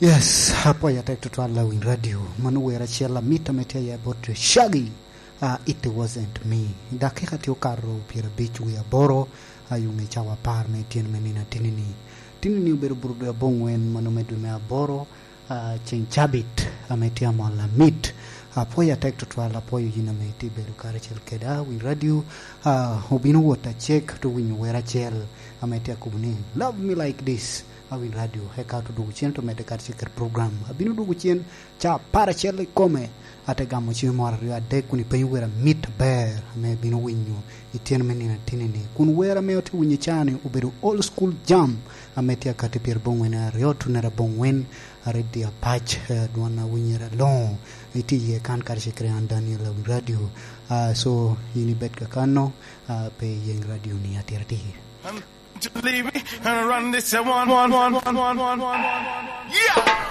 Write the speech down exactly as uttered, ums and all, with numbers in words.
Yes, apwoyo atek tutwal, Lawiny Radio. Mano wer acel amit ame tye aye bot Shaggy. Uh, It Wasn't Me. Dakika tye okato pyerabic wie aboro, a, i ŋe cawa apar me tyen me nino atinini. Tinini obedo bur dwe abongwen, mano me dwe me aboro, uh, ceng cabit ame tye amol amit. Apwoyo atek tutwal, apwoyo yin ame itye bedo karacel keda, Winy Radio. Uh, obino wot acek, to winyo wer acel ame tye akobo ni, "Love Me Like This." Awiny Radio, eka to dwogo cen to medde karacel kede program. Abino dwogo cen ca apar acel ikome, ate gamo cim moro aryo adek kun ipenyo wer amit aber ame ibino winyo i tyen me nino atinini. Kun wer ame otye winyo i caa-ni obedo Old School Jam ame tye akati pyerabongwen aryo, tunere abongwen, a Red Deer Patch, eh, dwon awinyere aloŋo. Itye iye kan karacel kede an Daniel Awiny Radio. Ah, so, yin ibed kakano, ah, pe iyeng radio-ni atiratir. To leave me and run this one, one, one, one, one, one, one, one, one. Yeah.